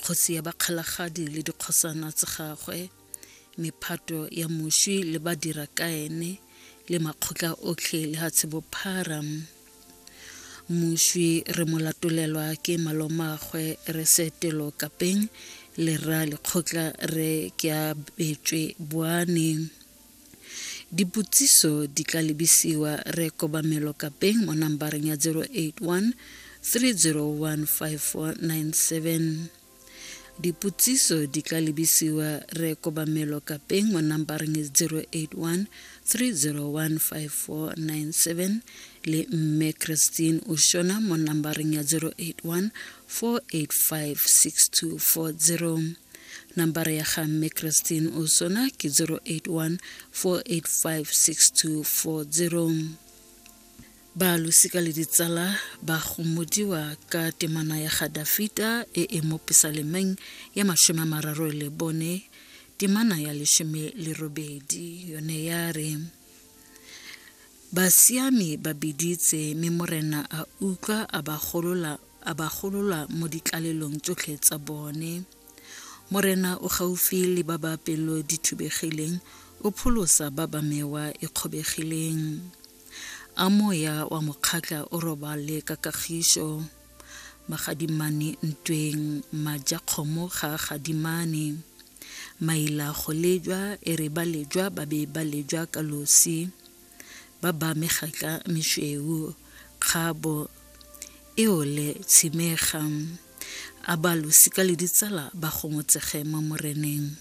Kgosi ya Bakgalagadi le dikgosana tsa gagwe, mephato ya moswi le badira ka ene le makgotla otlhe lehatshe bophara. Moswi re mo latolelwa ke malomagwe re Seetelo Kapeng le rra lekgotla re Keabetswe Boane. Dipotsiso di tla lebisiwa re Kobamelo Kapeng mo nambareng ya 081 301 5497. Dipotsiso di tla lebisiwa re Kobamelo Kapeng mo nambareng 081 301 5497 le Mme Christine Oshona mo nambareng ya 081 485 6240. Nambara ya ga Mme Christine Osona ke 081 485 6240. Ba losika le ditsala ba gomodiwa ka temana ya ga Dafita e e mo Pesalemeng ya 34 temana ya 18 yone ya re, Basiami ba biditse, mme Morena a utlwa, a ba golola, a ba golola mo ditlalelong tsotlhe tsa bone. Morena o gaufi le ba ba pelo di thubegileng, o pholosa ba ba mewa e kgobegileng. A moya wa mokgatla o robale ka kagišo. Magadimane ntweng, majakgomo ga a gadimane. Maila go lejwa, e re ba lejwa ba be ba lejwa ka losi. Ba ba megatla mešweu, kgabo e ole tshimega. A ba losika le ditsala ba gomotsege mo Moreneng.